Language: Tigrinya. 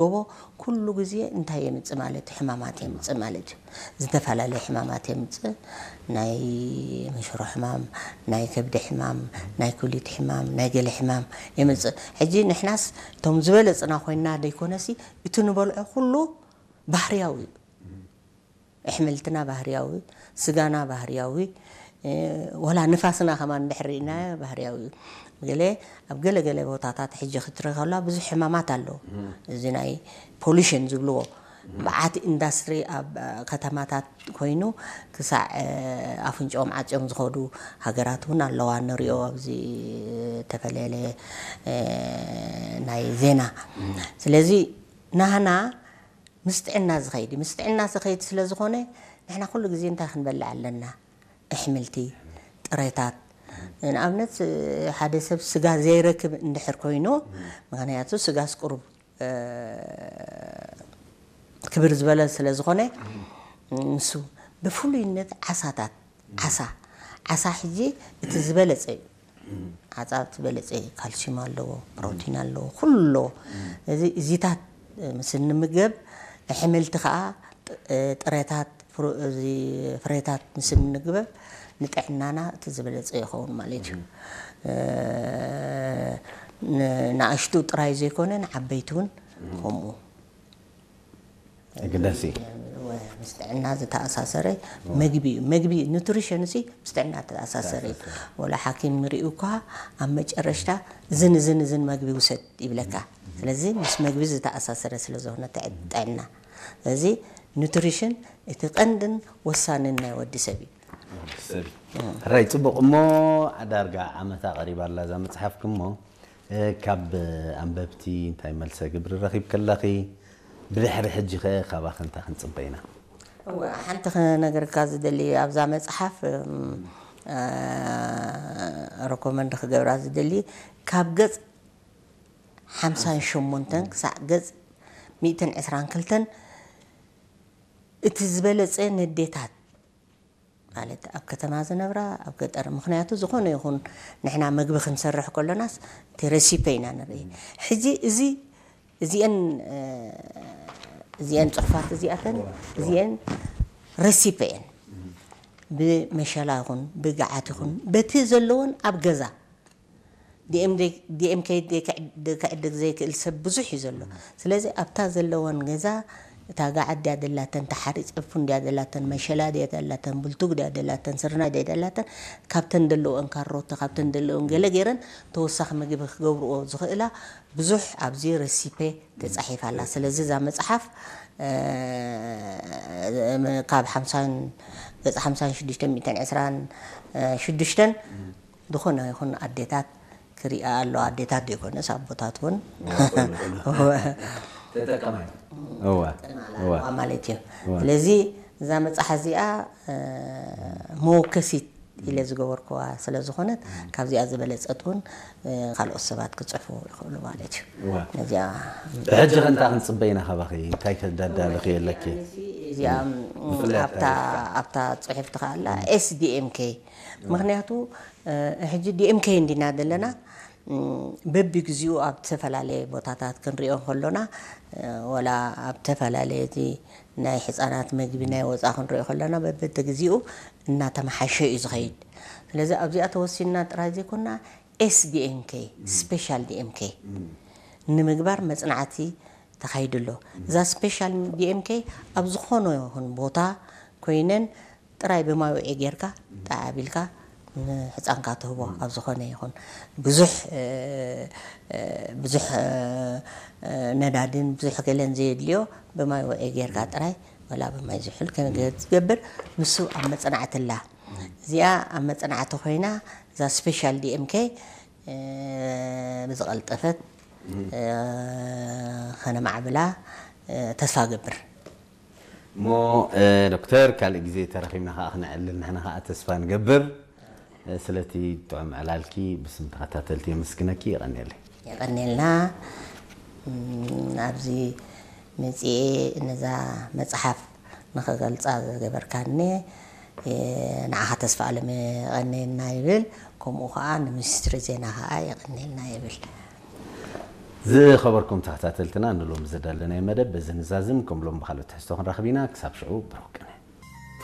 ጎቦ ኩሉ ግዜ እንታይ የምፅእ ማለት እዩ? ሕማማት የምፅእ ማለት እዩ። ዝተፈላለዩ ሕማማት የምፅእ። ናይ መሽሮ ሕማም፣ ናይ ከብዲ ሕማም፣ ናይ ኩሊት ሕማም፣ ናይ ገለ ሕማም የምፅእ። ሕጂ ንሕናስ እቶም ዝበለፅና ኮይና ደይኮነሲ እቲ ንበልዖ ኩሉ ባህርያዊ እዩ። ኣሕምልትና ባህርያዊ፣ ስጋና ባህርያዊ፣ ወላ ንፋስና ከማን እንድሕር ርኢናዮ ባህርያዊ እዩ። ገለ ኣብ ገለ ገለ ቦታታት ሕጂ ክትርኢ ከላ ብዙሕ ሕማማት ኣሎ። እዚ ናይ ፖሉሽን ዝብልዎ በዓቲ ኢንዳስትሪ ኣብ ከተማታት ኮይኑ ክሳዕ ኣፍንጭኦም ዓፅዮም ዝኸዱ ሃገራት እውን ኣለዋ። ንሪኦ ኣብዚ ተፈለለ ናይ ዜና። ስለዚ ናህና ምስ ጥዕና ዝኸይድ ምስ ጥዕና ዝኸይድ ስለ ዝኾነ ንሕና ኩሉ ግዜ እንታይ ክንበልዕ ኣለና? ኣሕምልቲ፣ ጥረታት። ንኣብነት ሓደ ሰብ ስጋ ዘይረክብ እንድሕር ኮይኑ፣ ምክንያቱ ስጋስ ቁሩብ ክብር ዝበለ ስለ ዝኾነ፣ ንሱ ብፍሉይነት ዓሳታት፣ ዓሳ ዓሳ ሕጂ እቲ ዝበለፀ እዩ። ዓፃ ዝበለፀ ካልሲዩም ኣለዎ፣ ፕሮቲን ኣለዎ፣ ኩሉ ኣለዎ። እዚ እዚታት ምስ እንምገብ ኣሕምልቲ ከዓ ጥረታት ፍሬታት ምስ እንምገብ ንጥዕናና እቲ ዝበለፀ ይኸውን ማለት እዩ። ንኣሽቱ ጥራይ ዘይኮነ ንዓበይቲ እውን ከምኡ። ኣገዳሲ ምስ ጥዕና ዝተኣሳሰረ መግቢ እዩ። መግቢ ኑትሪሽን ሲ ምስ ጥዕና ዝተኣሳሰረ እዩ። ወላ ሓኪም ሪኡ እኳ ኣብ መጨረሽታ ዝን ዝን ዝን መግቢ ውሰድ ይብለካ። ስለዚ ምስ መግቢ ዝተኣሳሰረ ስለ ዝኾነ ጥዕና እዚ ኑትሪሽን እቲ ቀንድን ወሳንን ናይ ወዲ ሰብ እዩ። ሰብ ሕራይ ፅቡቅ እሞ ዳርጋ ዓመታ ቀሪባ ኣላ እዛ መፅሓፍኪ እሞ ካብ ኣንበብቲ እንታይ መልሰ ግብሪ ረኺብ ከለኺ ብድሕሪ ሕጂ ከ ካባኺ እንታይ ክንፅበ ኢና? እወ ሓንቲ ክነግርካ ዝደሊ ኣብዛ መፅሓፍ ረኮመንድ ክገብራ ዝደሊ ካብ ገፅ ሓምሳን ሸሞንተን ክሳዕ ገፅ ሚእትን ዕስራን ክልተን እቲ ዝበለፀ ነዴታት ማለት ኣብ ከተማ ዝነብራ ኣብ ገጠር ምክንያቱ ዝኾነ ይኹን ንሕና መግቢ ክንሰርሕ ከሎናስ እቲ ረሲፔ ኢና ንርኢ ሕጂ እዚ እዚአን እዚአን ፅሑፋት እዚኣተን እዚአን ረሲፔ እየን ብመሸላ ይኹን ብገዓት ይኹን በቲ ዘለዎን ኣብ ገዛ ዲኤምኬ ክዕድግ ዘይክእል ሰብ ብዙሕ እዩ ዘሎ። ስለዚ ኣብታ ዘለወን ገዛ እታ ጋዓት ድያ ደላተን፣ እታ ሓሪፅ ዕፉን ድያ ደላተን፣ መሸላ ድያ ደላተን፣ ብልቱግ ድያ ደላተን፣ ስርናይ ድያ ደላተን፣ ካብተን ዘለወን ካሮት፣ ካብተን ዘለወን ገለ ገይረን ተወሳኺ ምግቢ ክገብርኦ ዝኽእላ ብዙሕ ኣብዚ ረሲፔ ተፃሒፋ ኣላ። ስለዚ እዛ መፅሓፍ ካብ ሓምሳን ገፅ ሓምሳን ሽዱሽተን ሚእትን ዕስራን ሽዱሽተን ዝኾነ ይኹን ኣዴታት ክሪኣ ኣሎ ኣዴታት ዘይኮነስ ኣቦታት እውን ተጠቀማይ እዋ እዋ ማለት እዩ ስለዚ እዛ መፅሓ እዚኣ መወከሲት ኢለ ዝገበርኩዋ ስለ ዝኾነት ካብዚኣ ዝበለፀት እውን ካልኦት ሰባት ክፅሕፉ ይኽእሉ ማለት እዩ እዋ ነዚኣ ብሕጂ ከንታ ክንፅበ ኢና ካባኺ እንታይ ከዳዳልኺ የለኪ እዚኣ ኣብታ ኣብታ ፅሑፍቲ ከኣላ ኤስዲኤምኬ ምክንያቱ ሕጂ ዲኤምኬ እንዲና ዘለና በቢ ግዚኡ ኣብ ዝተፈላለየ ቦታታት ክንሪኦ ከሎና ወላ ኣብ ዝተፈላለየ እቲ ናይ ሕፃናት መግቢ ናይ ወፃ ክንሪኦ ከለና በበተ ግዚኡ እናተመሓሸ እዩ ዝኸይድ ስለዚ ኣብዚኣ ተወሲንና ጥራይ ዘይኮና ኤስዲኤምኬ ስፔሻል ዲኤምኬ ንምግባር መፅናዕቲ ተኻይዱ ኣሎ እዛ ስፔሻል ዲኤምኬ ኣብ ዝኾነ ይኹን ቦታ ኮይነን ጥራይ ብማይ ውዒ ጌርካ ጣዕ ኣቢልካ ንሕፃንካ ትህቦ ኣብ ዝኾነ ይኹን ብዙሕ ብዙሕ ነዳድን ብዙሕ ገለን ዘየድልዮ ብማይ ውዒ ጌርካ ጥራይ ወላ ብማይ ዝሑል ከመይ ዝገብር ንሱ ኣብ መፅናዕቲ ኣላ እዚኣ ኣብ መፅናዕቲ ኮይና እዛ ስፔሻል ዲኤምኬ ብዝቐልጠፈት ከነማዕብላ ተስፋ ገብር እሞ ዶክተር ካልእ ግዜ ተረኺብና ከዓ ክነዕልል ንሕና ከዓ ተስፋ ንገብር ስለቲ ጥዑም ዕላልኪ ብስም ተኸታተልቲ የመስግነኪ የቐንየለይ የቐንየልና ኣብዚ መፅኤ ነዛ መፅሓፍ ንኽገልፃ ዝገበርካኒ ንዓኻ ተስፋ ኣለም የቐንየልና ይብል ከምኡ ከዓ ንሚኒስትሪ ዜና ከዓ የቐንየልና ይብል ዝኸበርኩም ተኸታተልትና፣ ንሎም ዝዳለናይ መደብ በዚ ንዛዝም። ከም ሎም ብኻልኦት ትሕዝቶ ክንራኸብ ኢና። ክሳብ ሽዑ ብሩክ።